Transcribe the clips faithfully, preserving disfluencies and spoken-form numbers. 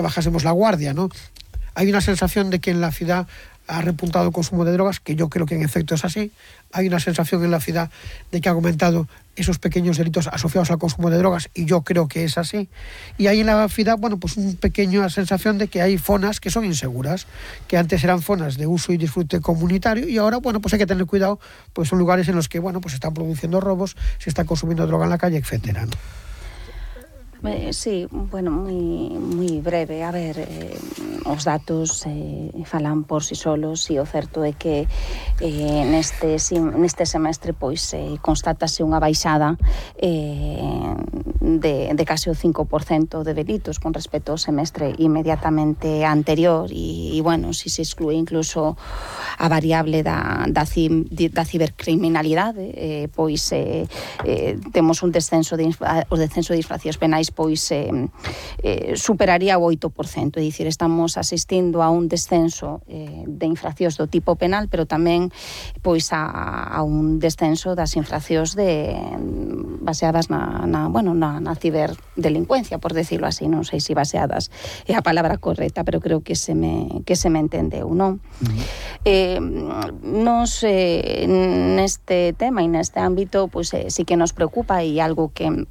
bajásemos la guardia, ¿no? Hay una sensación de que en la ciudad ha repuntado el consumo de drogas, que yo creo que en efecto es así. Hay una sensación en la ciudad de que ha aumentado esos pequeños delitos asociados al consumo de drogas, y yo creo que es así. Y hay en la ciudad, bueno, pues una pequeña sensación de que hay zonas que son inseguras, que antes eran zonas de uso y disfrute comunitario, y ahora, bueno, pues hay que tener cuidado, pues son lugares en los que, bueno, pues se están produciendo robos, se está consumiendo droga en la calle, etcétera, ¿no? Eh, sí, bueno, moi, moi breve. A ver, eh, os datos eh, falan por si solos, e o certo é que eh, neste, neste semestre pois eh, constatase unha baixada eh, de, de case o cinco por cento de delitos con respecto ao semestre inmediatamente anterior, e, e bueno, si se exclúe incluso a variable da, da, cim, da cibercriminalidade, eh, pois eh, eh, temos un descenso de, o descenso de infraccións penais pois eh, eh, superaría o oito por cento, é dicir, estamos asistindo a un descenso eh, de infraccións do tipo penal, pero tamén pois a, a un descenso das infraccións de baseadas na, na, bueno, na, na ciberdelincuencia, por decirlo así, non sei se baseadas é a palabra correcta, pero creo que se me, que se me entendeu, non? Uh-huh. Eh, nos eh, neste tema e neste ámbito pois eh, sí que nos preocupa, e algo que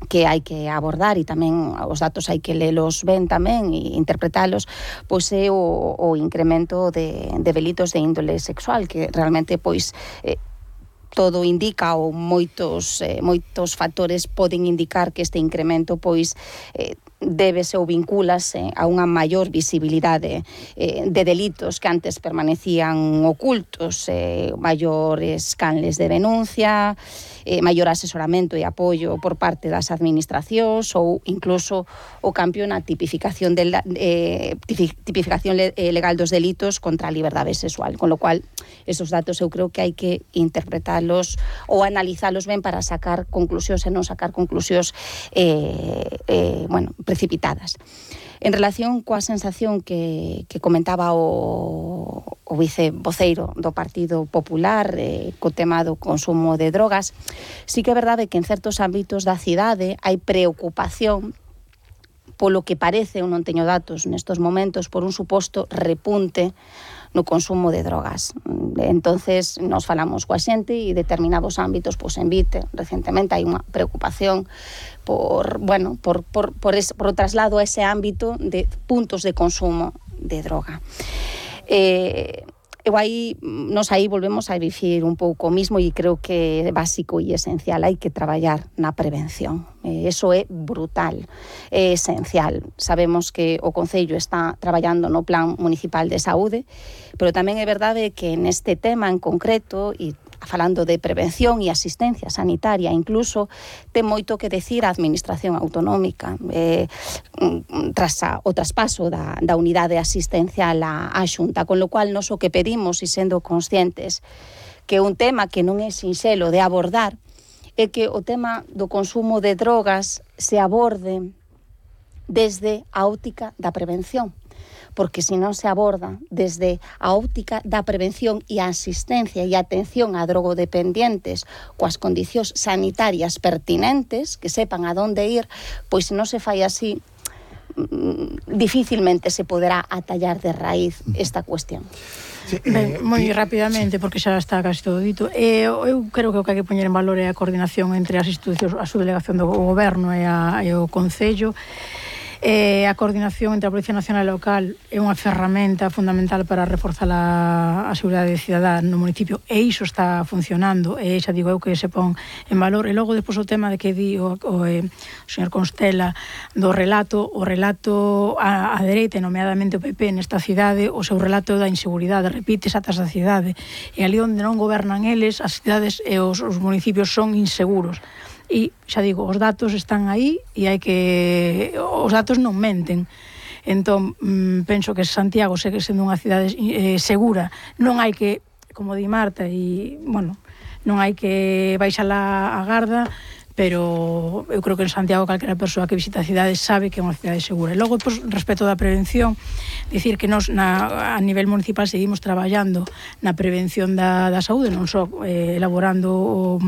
que hai que abordar, e tamén os datos hai que lelos ben tamén e interpretalos, pois é o, o incremento de, de delitos de índole sexual, que realmente pois eh, todo indica, ou moitos eh, moitos factores poden indicar que este incremento pois eh, débese ou vincúlase a unha maior visibilidade eh, de delitos que antes permanecían ocultos, eh, maiores canles de denuncia, eh, maior asesoramento e apoio por parte das administracións, ou incluso o cambio na tipificación, de, eh, tipificación legal dos delitos contra a liberdade sexual, con lo cual esos datos eu creo que hai que interpretalos ou analizalos ben para sacar conclusións e non sacar conclusións eh, eh, bueno, precipitadas. En relación coa sensación que, que comentaba o, o vicevoceiro do Partido Popular eh, co tema do consumo de drogas, sí que é verdade que en certos ámbitos da cidade hai preocupación polo que parece, eu non teño datos nestos momentos, por un suposto repunte no consumo de drogas. Entonces, nos falamos coa xente e determinados ámbitos, pois en Vite, recentemente hai unha preocupación por, bueno, por, por, por, es, por o traslado a ese ámbito de puntos de consumo de droga. Eh, eu aí, nos aí volvemos a dicir un pouco o mismo, e creo que é básico e esencial, hai que traballar na prevención. Eh, eso é brutal, é esencial. Sabemos que o Concello está traballando no Plan Municipal de Saúde, pero tamén é verdade que neste tema en concreto, e falando de prevención e asistencia sanitaria, incluso ten moito que decir a Administración Autonómica eh, tras a, o traspaso da, da unidade asistencial á, á Xunta, con lo cual nos o que pedimos, e sendo conscientes que un tema que non é sinxelo de abordar, é que o tema do consumo de drogas se aborde desde a óptica da prevención, porque se non se aborda desde a óptica da prevención e a asistencia e a atención a drogodependientes coas condicións sanitarias pertinentes, que sepan a donde ir, pois se non se fai así, difícilmente se poderá atallar de raíz esta cuestión. Sí, eh, ben, moi rapidamente, porque xa está casi todo dito. Eh, eu creo que o que hai que poñer en valor é a coordinación entre as institucións, a subdelegación do Goberno e, a, e o Concello. Eh, a coordinación entre a Policía Nacional e Local é unha ferramenta fundamental para reforzar a, a seguridade cidadá no municipio, e iso está funcionando, e xa digo eu que se pon en valor. E logo despois o tema de que di o, o, eh, o señor Constela do relato, o relato a, a dereita, nomeadamente o P P nesta cidade, o seu relato da inseguridade, repite xa da cidade, e ali onde non gobernan eles, as cidades e os, os municipios son inseguros. E xa digo, os datos están aí e hai que... os datos non menten. Entón, mmm, penso que Santiago segue sendo unha cidade eh, segura. Non hai que, como di Marta, e, bueno, non hai que baixar a, a garda, pero eu creo que en Santiago calquera persoa que visita a cidade sabe que é unha cidade segura. E logo, pues, respecto da prevención, dicir que nos na, a nivel municipal seguimos traballando na prevención da, da saúde, non só eh, elaborando o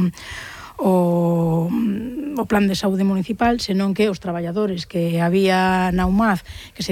o, o plan de saúde municipal, senón que os traballadores que había na U M A D, que se